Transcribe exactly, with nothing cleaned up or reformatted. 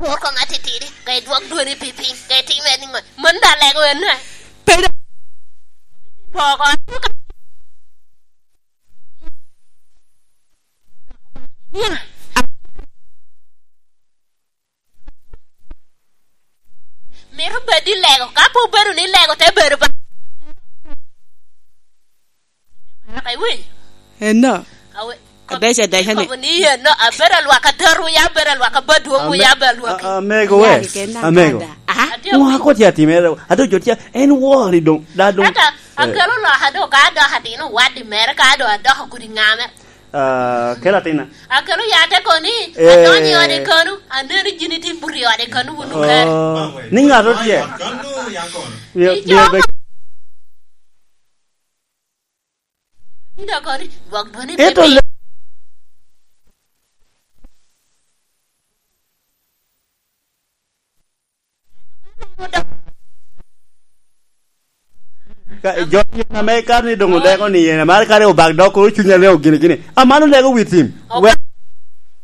Kur kong atitidi, ka idwok dwoni pi piny, ka itime ni ŋo? Mano daŋ lego en, eh? Poko. Mito bed i lego, ka pe obedo ni lego te bedo ba-, ka iwinyo? Eno. Awe-, Adeco, adeco ni. Kobo ni eno, abedo alwak adatwu, ya abedo alwak abadwoŋwu, Ame-, ya abedo alwak. A-, amego Ya, wes, keken amego. Agada. Aha. Atye Ŋo awinyo. Akot ya timere, ado jo tye, en wori doŋ, da doŋ. Ata, Eh. Akelo loka do, ka adoko atino waddi mere, ka adoko adoko kodi ŋa mere. Ah, kelo atina. Akelo yate koni, Eh. Adonyo i ode konu, aneno jini tye buto i ode konu wun okere. Oh, ni ŋato tye. Konu ya kono. Mio, Ijo mio be- Ino koni, gwok dwoni Ento pe le- Ka, jo yen ame kare ni doŋ odeko ni yen, amaro kare obak dok koro cunya leo gini gini. Amano lego wi tim. Obak